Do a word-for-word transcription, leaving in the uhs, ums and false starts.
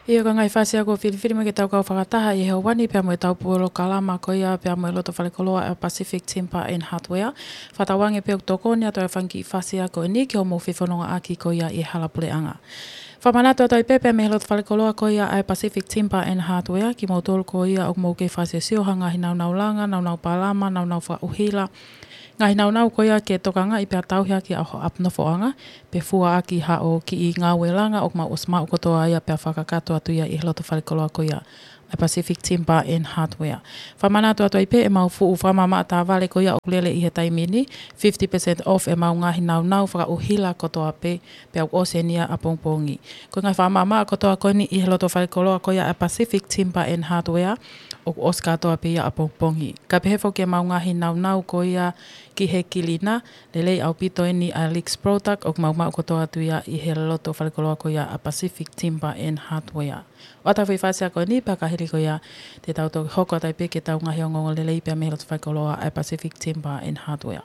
ʻIo, ko e ngaahi fasi ako filifili mo ke tau kau fakataha ʻi he ʻaho ni pea mo e tau polokalama ko ia pea mo e loto falekoloa ʻa e Pacific Timber and Hardware. Fakatauange pē ʻoku tokoni atu ʻa e fanga kiʻi fasi ako eni ki hoʻomou fefonongaʻaki ko ia ʻi he hala puleʻanga. Fakamanatu atu ai pē pea mei he loto falekoloa ko ia ʻa e Pacific Timber and Hardware, kimoutolu ko ia ʻoku mou kei fakasiosio ha ngaahi naunau langa, naunau palama, naunau fakaʻuhila, ngaahi naunau ko ia ke tokangaʻi pea tauhi ʻaki ʻa hoʻo ʻapi nofoʻanga, pe fua ʻaki haʻo kiʻi ngāue langa ʻoku mau ʻosi maʻu kotoa ia pea fakakakato atu ia ʻi he loto falekoloa ko ia ʻa e Pacific Timber and Hardware. Fakamanatu atu ai pē ʻemau fuʻu fakamaʻamaʻa tāvale ko ia ʻoku lele ʻi he taimi ni, fifty percent off ʻemau ngaahi naunau fakaʻuhila kotoa pē, pea ʻoku ʻosi eni ia ʻapongipongi. Ko e ngaahi fakamaʻamaʻa kotoa ko eni ʻi he loto falekoloa ko ia ʻa e Pacific Timber and Hardware, ʻoku ʻosi kātoa pē ia ʻapongipongi. Kae pehē foki ʻemau ngaahi naunau ko ia ki he kilina, lelei ʻaupito eni ʻa e Lex Product, ʻoku mau maʻu kotoa atu ia ʻi he loto falekoloa ko ia ʻa e Pacific Timber and Hardware. ʻOatu e foʻi fasi ako eni pea ka hili ko ia te tau toki hoko atu ai pē ki he tau ngaahi ongoongo lelei pea mei he loto falekoloa ʻa e Pacific Timber and Hardware.